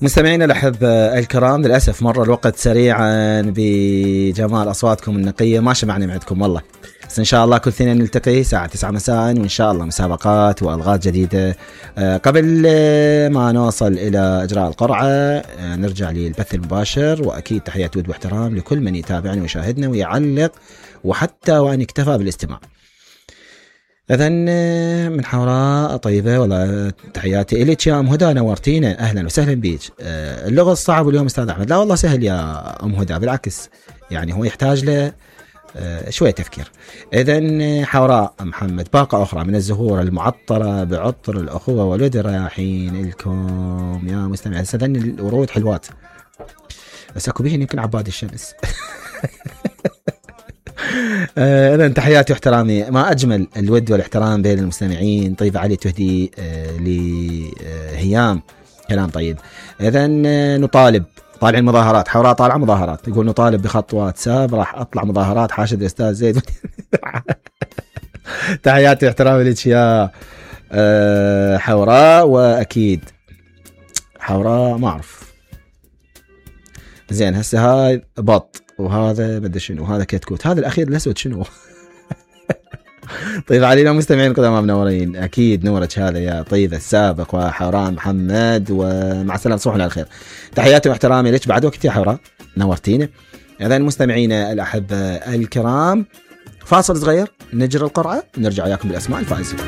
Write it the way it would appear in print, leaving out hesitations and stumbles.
مستمعينا الأحبة الكرام، للأسف مر الوقت سريعا بجمال أصواتكم النقية، ما شبعنا معدكم والله. بس إن شاء الله كل اثنين نلتقي الساعة 9 مساء، وإن شاء الله مسابقات وألغاز جديدة. قبل ما نوصل إلى إجراء القرعة نرجع للبث المباشر، وأكيد تحيات ود واحترام لكل من يتابعنا ويشاهدنا ويعلق وحتى وأن يكتفى بالاستماع. إذن من حوراء طيبة، والله تحياتي إليك يا أم هدى، نورتينا، أهلا وسهلا بيك. اللغة الصعب اليوم أستاذ أحمد. لا والله سهل يا أم هدى، بالعكس يعني هو يحتاج له شوية تفكير. إذن حوراء محمد، باقة أخرى من الزهور المعطرة بعطر الأخوة والود رايحين لكم يا مستمع. صدقني الورود حلوات بس أكو بيهن يمكن عباد الشمس. إذن تحياتي واحترامي، ما أجمل الود والاحترام بين المستمعين. طيب علي تهدي لهيام كلام طيب. إذن نطالب طالع المظاهرات، حوراء طالعة مظاهرات، يقول نطالب بخط واتساب، راح أطلع مظاهرات حاشد الأستاذ زيد. تحياتي واحترامي لك يا حوراء. وأكيد حوراء ما أعرف زين هسه هاي بط وهذا بدي شنو، وهذا كتكوت، هذا الأخير الأسود شنو؟ طيب علينا مستمعين قدام منورين، أكيد نورك هذا يا طيب السابق وحوراء محمد، ومع السلامة تصبحون على الخير. تحياتي واحترامي لك بعد وقت يا حوراء، نورتينا. إذن مستمعينا الأحبة الكرام، فاصل صغير نجري القرعة، نرجع وياكم بالأسماء الفائزين.